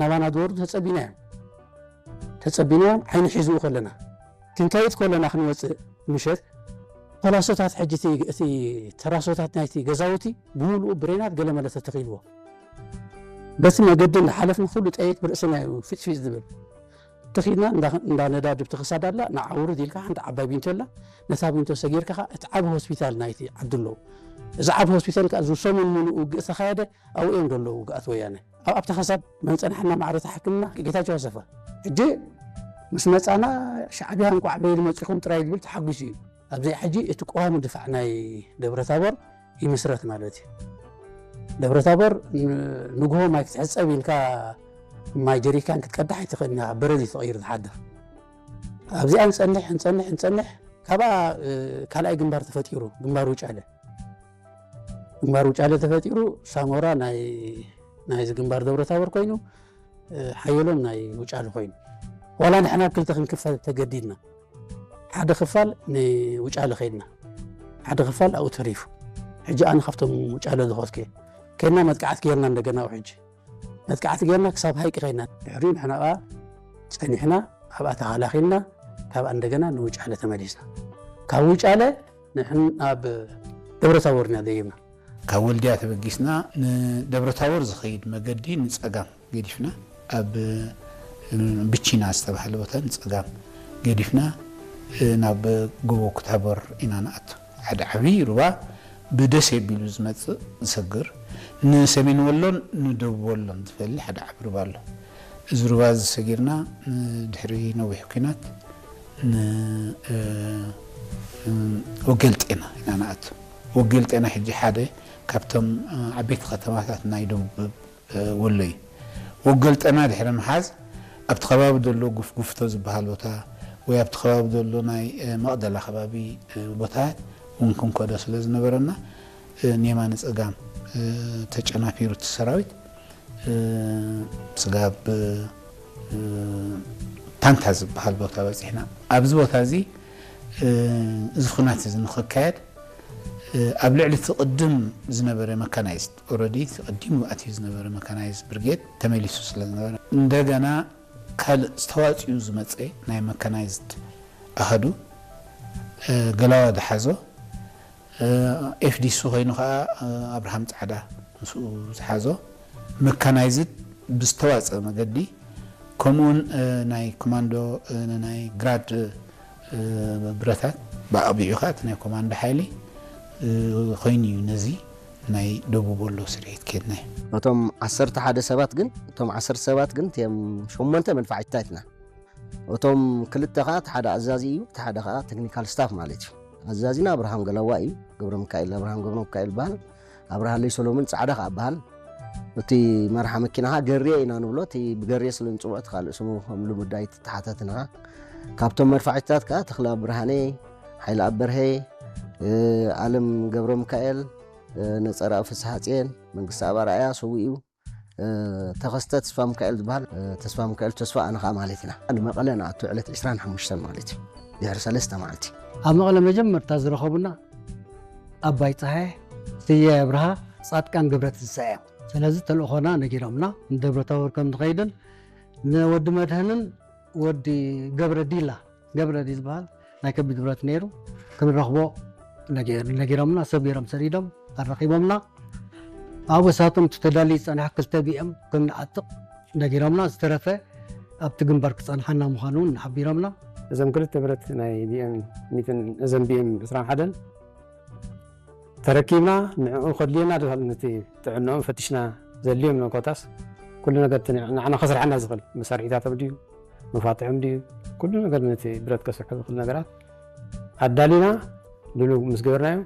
ናባና ዝወርዱ ተጸቢና እዮም። ተጸቢና እዮም፣ ዓይኒ ሒዝኡ ከለና። ክንከይድ ከለና ክንወጽእ ምሸት፣ ፖላሶታት ሕጂ እቲ፣ እቲ ተራሶታት ናይቲ ገዛውቲ ብምሉኡ ብሬናት ገለ መለ ተተኺልዎ። በቲ መገዲ እንዳሓለፍና ኩሉ ጠይት ብርእስና እዩ ፊጽፊጽ ዝብል። ተኺድና እንዳ፣ እንዳ ነዳዲ ብቲ ክሳድ ኣላ፣ ንዓ ውርድ ኢልካ ሓንቲ ዓባይ ቢንቶ ኣላ፣ ነታ ቢንቶ ሰጊርካ ኸኣ እቲ ዓቢ ሆስፒታል ናይቲ ዓዲ ኣለዎ። እዚ ዓቢ ሆስፒታል ከኣ እዚ ሰሙን ምሉእ ውግእ ዝተኻየደ ኣብኡ እዮም ዘለዉ ውግኣት ወያነ። ኣብ፣ ኣብታ ክሳድ መን ጸንሐና ማዕረታ ሕክምና ጌታቸው ኣሰፋ። ሕጂ ምስ መጻና ሻዕብያ እንቋዕ በይኑ መጺኹም ጥራይ ዝብል ተሓጒሱ እዩ። ኣብዚ ሕጂ እቲ ቀዋሚ ድፋዕ ናይ ደብረ ታቦር ይምስረት ማለት እዩ። ደብረ ታቦር ን-፣ ንግሆ ማይ ክትሕጸብ ኢልካ ማይ ጀሪካን ክትቀዳሕ ኣይትኽእልን ኢኻ፣ በረድ እዩ ተቐይሩ ዝሓድር። ኣብዚኣ ንጸንሕ፣ ንጸንሕ፣ ንጸንሕ፣ ካብኣ፣ እ፣ ካልኣይ ግንባር ተፈጢሩ፣ ግንባር ውጫለ። ግንባር ውጫለ ተፈጢሩ፣ ሳሞራ ናይ፣ ናይዚ ግንባር ደብረ ታቦር ኮይኑ፣ እ፣ ሓየሎም ናይ ውጫለ ኮይኑ። ዋላ ንሕና ኣብ ክልተ ክንክፈል ተገዲድና። ሓደ ክፋል ንውጫለ ከይድና፣ ሓደ ክፋል ኣብኡ ተሪፉ። ሕጂ ኣነ ካብቶም ውጫለ ዝኸድኩ እየ። ከይድና መጥቃዕቲ ጌርና እንደገና ኣብኡ ሕጂ። መጥቃዕቲ ጌርና ክሳብ ሃይቂ ከይድና። ድሕሪኡ ንሕና ከኣ ጸኒሕና፣ ኣብኣ ተኸላኺልና፣ ካብኣ እንደገና ንውጫለ ተመሊስና። ካብ ውጫለ ንሕን ኣብ ደብረ ታቦር ኢና ደይብና። ካብ ወልድያ ተበጊስና ንደብረ ታቦር ዝኸይድ መገዲ ንጸጋም ገዲፍና፣ ኣብ፣ እ፣ ብቺና ዝተባህለ ቦታ ንጸጋም ገዲፍና፣ እ፣ ናብ ጎቦ ኩታበር ኢና ንኣቱ። ሓደ ዓብዪ ሩባ ብደሴ ኣቢሉ ዝመጽእ ዝሰግር፣ ንሰሜን ወሎን ንደቡብ ወሎን ዝፈሊ ሓደ ዓቢ ሩባ ኣሎ። እዚ ሩባ እዚ ሰጊርና፣ እ፣ ድሕሪ ነዊሕ ኲናት ን-፣ እ፣ እ፣ ወገልጤና ኢና ንኣቱ። ወገልጤና ሕጂ ሓደ ካብቶም፣ እ፣ ዓበይቲ ከተማታት ናይ ደቡብ፣ እ፣ ወሎ እዩ። ወገልጤና ድሕሪ ምሓዝ ኣብቲ ከባቢ ዘሎ ጉፍጉፍቶ ዝበሃል ቦታ ወይ ኣብቲ ከባቢ ዘሎ ናይ፣ እ፣ መቕደላ ከባቢ፣ እ፣ ቦታታት እውን ክንከዶ ስለ ዝነበረና፣ እ፣ ንየማነ ጸጋም፣ እ፣ ተጨናፊሩ እቲ ሰራዊት፣ እ፣ ስጋብ፣ እ፣ ታንታ ዝበሃል ቦታ በጺሕና። ኣብዚ ቦታ እዚ፣ እ፣ እዚ ኹናት እዚ ንኽካየድ፣ እ፣ ኣብ ልዕሊ እቲ ቅድም ዝነበረ መካናይዝድ፣ ኦረዲ እቲ ቀዲሙ ኣትዩ ዝነበረ መካናይዝድ ብርጌድ ተመሊሱ ስለ ዝነበረ፣ እንደገና ካልእ ዝተዋጽኡ ዝመጸ ናይ መካናይዝድ ኣሃዱ፣ እ፣ ገላዋ ዝሓዞ፣ እ፣ ኤፍዲሲ ኮይኑ ኸኣ፣ እ፣ ኣብርሃም ጻዕዳ ምስኡ ዝሓዞ መካናይዝድ ብዝተዋጸ መገዲ፣ ከምኡውን፣ እ፣ ናይ ኮማንዶ፣ እ፣ ናይ ግራድ፣ እ፣ ብረታት ብኣቕቢዑ ኸኣ እቲ ናይ ኮማንዶ ሓይሊ፣ እ፣ ኮይኑ እዩ ነዚ ናይ ደቡብ ወሎ ስርሒት ኬድናዮ። እቶም ዓሰርተ ሓደ ሰባት ግን፣ እቶም ዓሰርተ ሰባት ግን እቲኦም ሸሞንተ መድፋዕትታት ኢና። እቶም ክልተ ኸኣ እቲ ሓደ ኣዛዚ እዩ፣ እቲ ሓደ ኸኣ ቴክኒካል ስታፍ ማለት እዩ። ኣዛዚና ኣብርሃም ገላዋ እዩ፣ ገብረ ሚካኤል፣ ኣብርሃም ገብረ ሚካኤል ይበሃል። ኣብርሃለይ ሰሎሞን ጻዕዳ ኸኣ ይበሃል። እቲ መርሓ መኪና ኸኣ ገርየ ኢና ንብሎ፣ እቲ ብገርየ ስለ ንጽውዖ እቲ ካልእ ስሙ ከም ልሙድ ኣይተሓታትን ኸኣ። ካብቶም መድፋዕትታት ከኣ ተኽለኣብ ብርሃነ፣ ሓይለኣብ በርሀ፣ እ፣ ኣለም ገብረ ሚካኤል፣ እ፣ ነጸረኣብ ፍስሃጽየን፣ መንግስተኣብ ኣርኣያ ሰዊኡ፣ እ፣ ተኸስተ ተስፋ ሚካኤል ዝበሃል፣ እ፣ ተስፋ ሚካኤል ተስፋ ኣነ ኸኣ ማለት ኢና። ንመቐለ ንኣቱ ዕለት ዕስራን ሓሙሽተን ማለት እዩ። ድሕሪ ሰለስተ መዓልቲ። ኣብ መቐለ መጀመርታ ዝረኸቡና ኣባይ ጸሃየ፣ ስየ ኣብርሃ፣ ጻድቃን ገብረትንሳኤ እዮም። ስለዚ ተልእኾና ነጊሮምና፣ ንደብረ ታቦር ከም ንኸይድን ንወዲ መድህንን ወዲ ገብረ ዲላ፣ ገብረ ዲ ዝበሃል ናይ ከቢድ ብረት ነይሩ፣ ክንረኽቦ ነጊ-፣ ነጊሮምና፣ ሰብ ገይሮም ሰዲዶም ኣረኺቦምና። ኣብኡ እሳቶም እቲ ተዳልዩ ዝጸንሐ ክልተ ቢኤም ከም ንዓጥቕ ነጊሮምና፣ ዝተረፈ ኣብቲ ግንባር ክጸንሓና ምዃኑ እውን ሓቢሮምና። እዞም ክልተ ብረት ናይ ቢኤም ሚእትን፣ እዘን ቢኤም ዕስራን ሓደን ተረኪብና፣ ንዕኡ ከድልየና ድኻል ነቲ ጥዕንኦም ፈቲሽና፣ ዘድልዮም ነው ኮታስ፣ ኩሉ ነገር እቲ ንዕ-፣ ንዓና ከስርሐና ዝኽእል መሳርሒታቶም ድዩ፣ መፋትሖም ድዩ፣ ኩሉ ነገር ነቲ ብረት ከስርሖ ዝኽእል ነገራት ኣዳሊና፣ ድሉው ምስ ገበርናዮ፣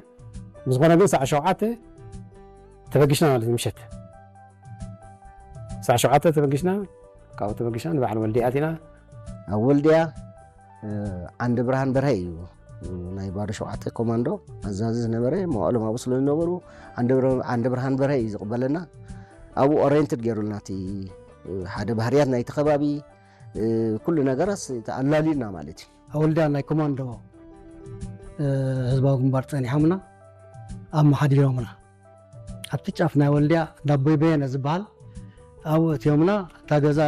ብዝኾነ ግን ሰዓት ሸውዓተ ተበጊስና ማለት እዩ፣ ምሸት። ሰዓት ሸውዓተ ተበጊስና፣ ካብኡ ተበጊስና ንበዓል ወልድያ ኣቲና። ኣብ ወልድያ፣ እ፣ ዓንደ ብርሃን በርሀ እዩ፣ እ፣ ናይ ባዶ ሸውዓተ ኮማንዶ ኣዛዚ ዝነበረ፣ መዋእሎም ኣብኡ ስለ ዝነበሩ፣ ዓንደ ብር-፣ ዓንደ ብርሃን በርሀ እዩ ዝቕበለና። ኣብኡ ኦሪየንትድ ገይሩልና፣ እቲ፣ እ፣ ሓደ ባህርያት ናይቲ ከባቢ፣ እ፣ ኩሉ ነገራት ኣላልዩና ማለት እዩ። ኣብ ወልድያ ናይ ኮማንዶ፣ እ፣ ህዝባዊ ግንባር ጸኒሖምና፣ ኣመሓዲሮምና። ኣብቲ ጫፍ ናይ ወልድያ ዳቦይ በየነ ዝበሃል ኣብኡ እትዮምና፣ እታ ገዛ